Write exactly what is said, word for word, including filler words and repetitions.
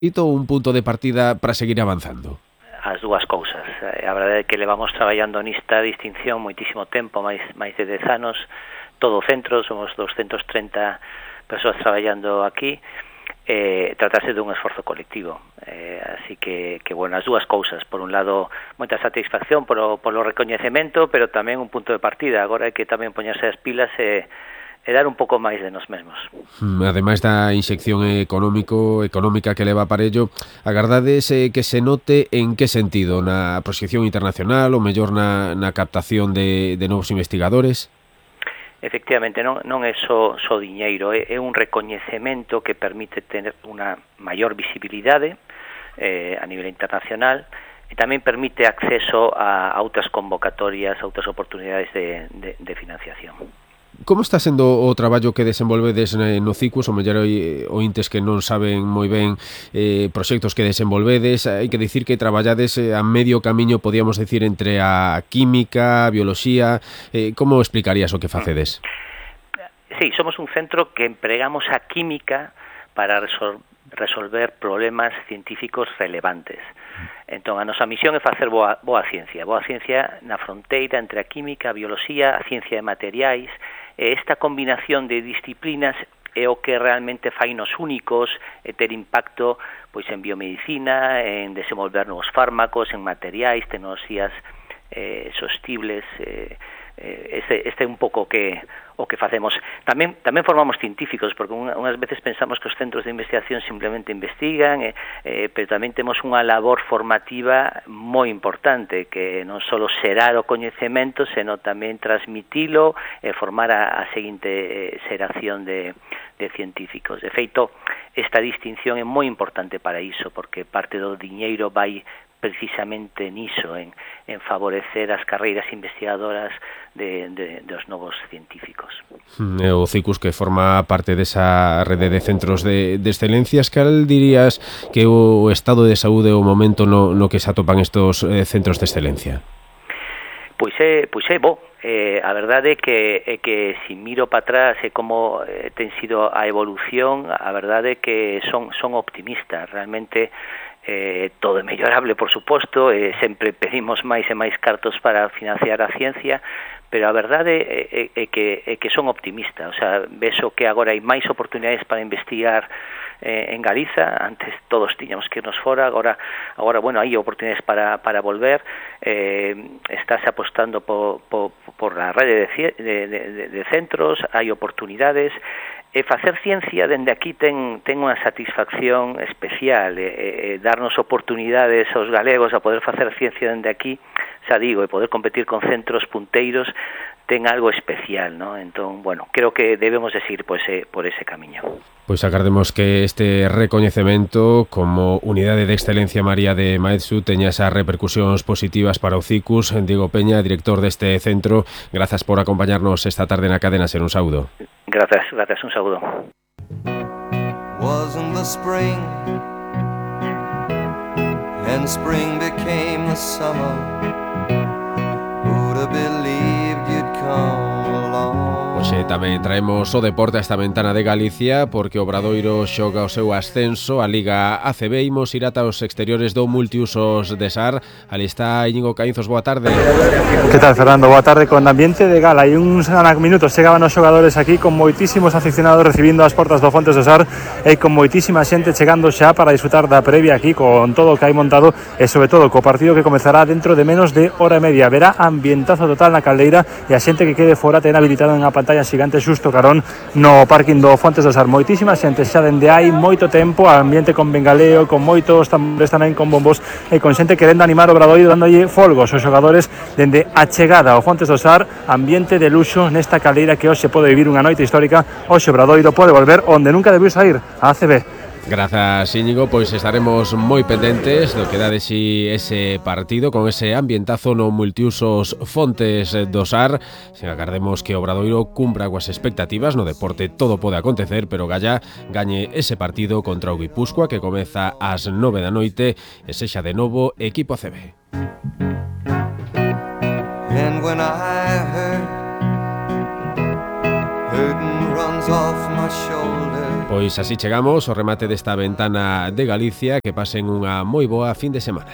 un punto de partida para seguir avanzando? As dúas cousas. A verdade é que levamos traballando nesta distinción moitísimo tempo, máis máis de dez anos, todo o centro, somos doscientas trinta persoas traballando aquí, eh, tratase dun esforzo colectivo. Eh, así que, que, bueno, as dúas cousas. Por un lado, moita satisfacción polo, polo recoñecemento, pero tamén un punto de partida. Agora hai que tamén poñerse as pilas e e dar un pouco máis de nos mesmos. Ademais da inxección económico económica que leva para ello, agardades eh, que se note en que sentido? Na proxección internacional ou mellor na, na captación de, de novos investigadores? Efectivamente, non, non é só, só diñeiro, é, é un recoñecemento que permite ter unha maior visibilidade eh, a nivel internacional e tamén permite acceso a, a outras convocatorias, a outras oportunidades de, de, de financiación. Como está sendo o traballo que desenvolvedes no Cicus? O mellor ointes que non saben moi ben eh, proxectos que desenvolvedes. Hai que dicir que traballades a medio camiño, podíamos decir, entre a química, a bioloxía. Eh, como explicarías o que facedes? Sí, somos un centro que empregamos a química para resol resolver problemas científicos relevantes. Entón, a nosa misión é facer boa, boa ciencia. Boa ciencia na fronteira entre a química, a bioloxía, a ciencia de materiais. E esta combinación de disciplinas é o que realmente fainos únicos e ter impacto pois en biomedicina, en desenvolver novos fármacos, en materiais, tecnoloxías eh, sostibles. Eh, este, este é un pouco que o que facemos. Tamén tamén formamos científicos, porque unha, unhas veces pensamos que os centros de investigación simplemente investigan, eh, eh, pero tamén temos unha labor formativa moi importante, que non só xerar o coñecemento, senón tamén transmitilo e formar a, a seguinte eh, xeración de, de científicos. De feito, esta distinción é moi importante para iso, porque parte do diñeiro vai precisamente niso, en, en favorecer as carreiras investigadoras de, de, dos novos científicos. O Cicus, que forma parte desa rede de centros de, de excelencias, cal dirías que o estado de saúde o momento no, no que se atopan estos eh, centros de excelencia? Pois é, pois é bo. Eh, a verdade é que, é que se miro para atrás e como eh, ten sido a evolución, a verdade é que son, son optimistas. Realmente Eh, todo é mellorable, por suposto, eh, sempre pedimos máis e máis cartos para financiar a ciencia, pero a verdade é, é, é, que, é que son optimistas. O sea, vexo que agora hai máis oportunidades para investigar eh, en Galiza. Antes todos tiñamos que irnos fora, agora, agora bueno, hai oportunidades para, para volver. Eh, estás apostando por, por, por a rede de, de, de, de centros, hai oportunidades. E facer ciencia dende aquí ten, ten unha satisfacción especial, e, e darnos oportunidades aos galegos a poder facer ciencia dende aquí, xa digo, e poder competir con centros punteiros, ten algo especial, ¿no? Entón, bueno, creo que debemos de seguir por ese, por ese camiño. Pois agardemos que este recoñecemento como Unidade de Excelencia María de Maeztu teña esas repercusións positivas para o Cicus. Diego Peña, director deste centro, grazas por acompañarnos esta tarde na cadena Ser. Un saúdo. Gracias, gracias, un saúdo. Wasn't the spring and spring became the summer, who'd have believed you'd come along. Hoxe tamén traemos o deporte a esta ventana de Galicia, porque o Obradoiro xoga o seu ascenso a Liga A C B. Imos ir ata os exteriores do multiusos de Sar. Ali está Íñigo Caínzos, boa tarde. Que tal, Fernando? Boa tarde. Con ambiente de gala e uns minutos chegaban os xogadores aquí con moitísimos aficionados recibindo as portas do Fontes do Sar e con moitísima xente chegando xa para disfrutar da previa aquí con todo o que hai montado e sobre todo co partido que comezará dentro de menos de hora e media. Verá ambientazo total na caldeira e a xente que quede fora ten habilitado en a pantalla xigante xusto carón no parking do Fontes do Sar. Moitísima xente xa dende hai moito tempo, ambiente con bengaleo, con moitos tambores tamén, con bombos e con xente querendo animar o Obradoiro, dándolle folgos aos xogadores dende a chegada ao Fontes do Sar. Ambiente de luxo nesta caldeira que hoxe pode vivir unha noite histórica. Hoxe o Obradoiro pode volver onde nunca debiu sair, a A C B. Grazas, Íñigo, pois estaremos moi pendentes do que dá de si ese partido con ese ambientazo no multiusos Fontes do Sar. Se agardemos que o Obradoiro cumpra coas expectativas. No deporte todo pode acontecer, pero Galla gañe ese partido contra o Guipúscoa, que comeza ás nove da noite e sexa de novo equipo A C B. And when I hurt, hurting runs off my shoulders. Pois así chegamos ao remate desta ventana de Galicia. Que pasen unha moi boa fin de semana.